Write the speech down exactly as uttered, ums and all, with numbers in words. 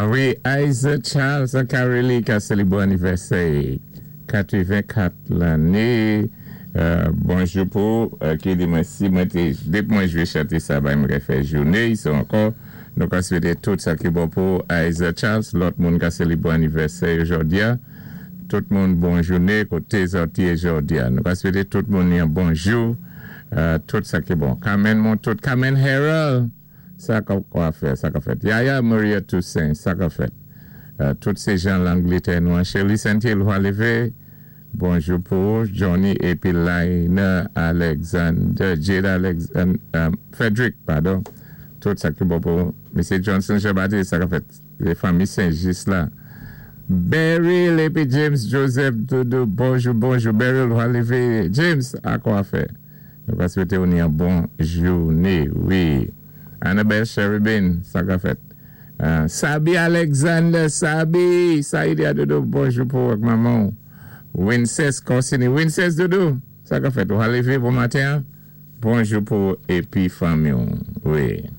Ah wi, Isaac Charles Carelli ki a sélébwé anniversaire katwenven-kat lanné. Euh, bonjou pou euh, ki di mwen si mwen té dépi mwen jwé chanté sa ba mwen fè jouné so ankò nou ka swété tout sa ki bon pou Isaac Charles lòt moun ka sélébwé anniversaire jòdi a tout moun bon jouné koté zòt yé jòdi a nou ka swété tout moun yon bonjou euh, tout sa ki bon Carmen Montout Carmen Harold sa ka kwa fè sa ka fèt Yaya Maria Toussaint sa ka fèt euh, tout sé jan Langlétè nou an Shirley Saint-Hill levé. Bonjou pou Johnny épi Laina Alexander, Jade Alexander, um, Frederick, padon. Tout sa ki bon pou Mesye Johnson Jean-Baptiste, sa ka fèt la fanmi Saint-Just la. Beryl épi James Joseph Doudou, bonjou, bonjou. Beryl va lévé. James, a kwa fè? Nou va swété yon bon jouné, wi. Annabelle Cherubin, sa ka fèt. Euh, Sabi Alexander, Sabi, Saïdia Doudou, bonjou pou manman. Winces Corsini, Winces Doudou, sa ka fèt. Ou lévé bon maten. Bonjou pou épi fanmi, wi.